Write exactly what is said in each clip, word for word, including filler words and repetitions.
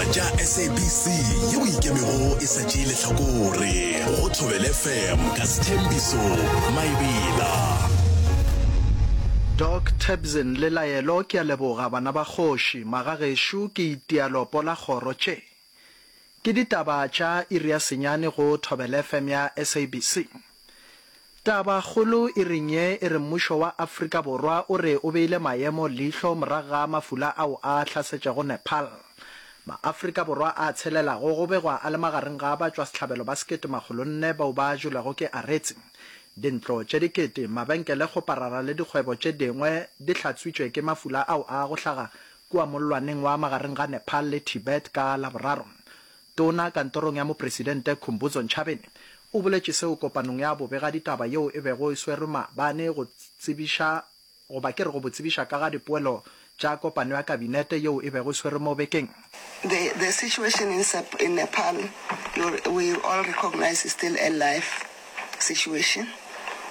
tša S A B C yeo ikemego e sa tšee lehlakore go Thobela F M ka Sethembiso Maebela. Doc Tebzin le Laelo ke a leboga bana ba kgoši magagešo ke itia lopo la kgoro tše ke ditaba tša iri ya senyane go Thobela F M ya S A B C. Taba kgolo iring ye e re mmušo wa Afrika Borwa o re o beile maemo leihlo morago ga mafula ao a hlasetšego Nepal. Maafrika Borwa a tshelelago go begwa a le magareng ga batšwasehlabelo ba sekete makgolo nne bao ba jelwego ke aretse. Dintlo tše dikete, mabenkele kgoparara le dikgwebo tše dingwe di hlatswitšwe ke mafula ao a go hlaga kua mollwaneng wa magareng ga Nepal le Tibet ka Laboraro. Tona kantorong ya Mopresidente Khumbudzo Ntshavheni o boletše seo kopanong ya bobegaditaba yeo e bego e swerwe maabane go tsebiša goba ke re go bo tsebiša ka ga dipoelo tša kopano ya kabinete yeo e bego e swerwe mo bekeng. The, the situation in, in Nepal, we all recognize, is still a live situation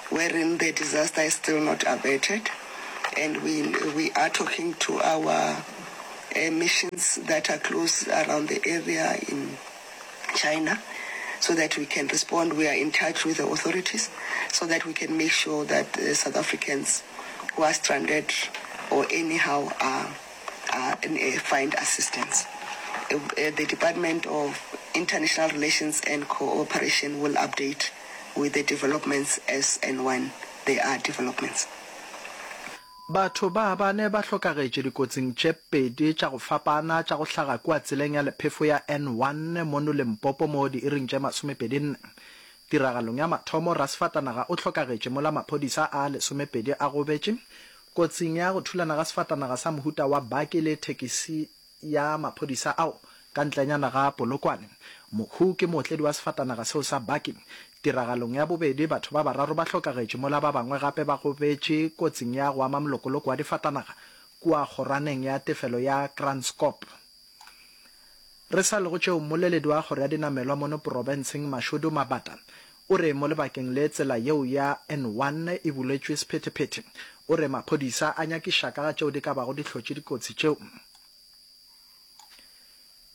wherein the disaster is still not averted. And we, we are talking to our uh, missions that are close around the area in China so that we can respond. We are in touch with the authorities so that we can make sure that the South Africans who are stranded or anyhow are, are, uh, find assistance. Uh, the Department of International Relations and Cooperation will update with the developments as and when there are developments. Batho ba bane ba hlokagetše dikotsing tše pedi tša go fapana tša go hlaga kua tseleng ya lephefo ya N one mono Limpopo mo diiring tše masomepedi nne. Tiragalong ya mathomo rasefatanaga o hlokagetše mola maphodisa a lesomepedi a gobetše kotsing ya go thulana ga sefatanaga sa mohuta wa baki le thekisi ya maphodisa ao ka ntlenyana ga Polokwane. Mohu ke mootledi wa sefatanaga seo sa baki. Tiragalong ya bobedi batho ba bararo ba hlokagetše mola ba bangwe gape ba gobetše kotsing ya go ama molokoloko wa difatanaga kua kgorwaneng ya tefelo ya Kranskop. Re sa le go tšeo, mmoleledi wa kgoro ya dinamelwa mono porofenseng Mashudu Mabata o re mo lebakeng le tsela yeo ya N one e buletšwe sephethephethe. O re maphodisa a nyakiša ka ga tšeo di ka bago di hlotše dikotsi tšeo.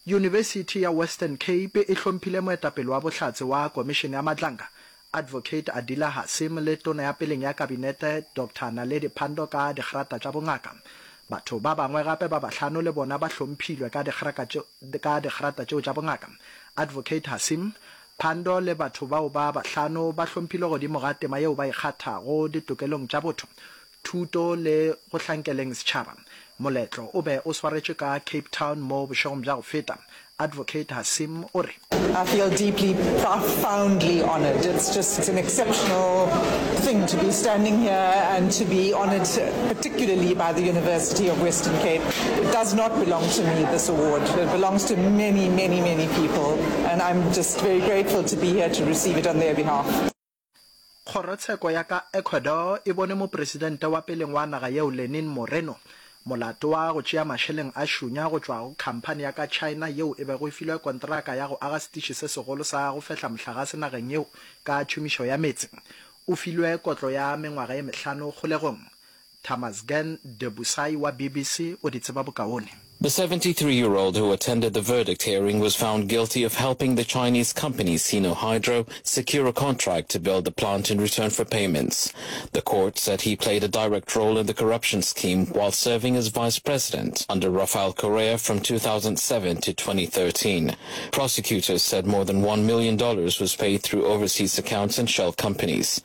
Yunibesithi ya Western Cape e hlomphile moetapele wa bohlatse wa Komišene ya Madlanga, Advocate Adila Hassim le Tona ya peleng ya Kabinete Doctor Naledi Pandor ka digrata tša bongaka. Batho ba bangwe gape ba bahlano le bona ba hlomphilwe ka ka digrata tšeo tša bongaka. Advocate Hassim, Pandor le batho bao ba bahlano ba hlomphilwe godimo ga tema yeo ba e kgathago ditokelong tša botho, thuto le go hlankeleng setšhaba. Moletlo o be o swaretšwe ka Cape Town mo bošegong bja go feta. Advocate Hassim o re: I feel deeply, profoundly honored. It's just it's an exceptional thing to be standing here and to be honored, particularly by the University of Western Cape. It does not belong to me, this award. It belongs to many, many, many people, and I'm just very grateful to be here to receive it on their behalf. Kgorotsheko ya ka Ecuador e bone mopresidente wa peleng wa naga yeo Lenin Moreno molato wa go tšea mašeleng a šunya go tšwa go khamphani ya ka China yeo e bego e filwe kontraka ya go aga setiši se segolo sa go fehla mohlagase nageng yeo ka tšhomišo ya meetse. O filwe kotlo ya mengwaga ye mehlano kgolegong. Tamasgen Debusai wa B B C o di tseba bokaone. The seventy-three-year-old who attended the verdict hearing was found guilty of helping the Chinese company Sinohydro secure a contract to build the plant in return for payments. The court said he played a direct role in the corruption scheme while serving as vice president under Rafael Correa from two thousand seven to twenty thirteen. Prosecutors said more than one million dollars was paid through overseas accounts and shell companies.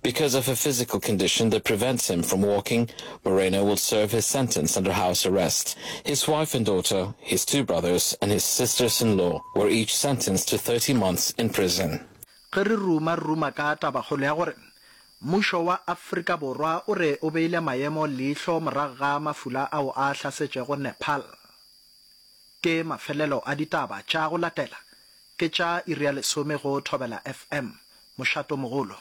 Because of a physical condition that prevents him from walking, Moreno will serve his sentence under house arrest. His wife and daughter, his two brothers, and his sisters-in-law were each sentenced to thirty months in prison. Ge re ruma re ruma ka tabakgolo ya gore mmušo wa Afrika Borwa o re o beile maemo leihlo morago ga mafula ao a hlasetšego Nepal. Ke mafelelo a ditaba tša go latela ke tša iri ya lesome go Thobela F M. Mošato mogolo.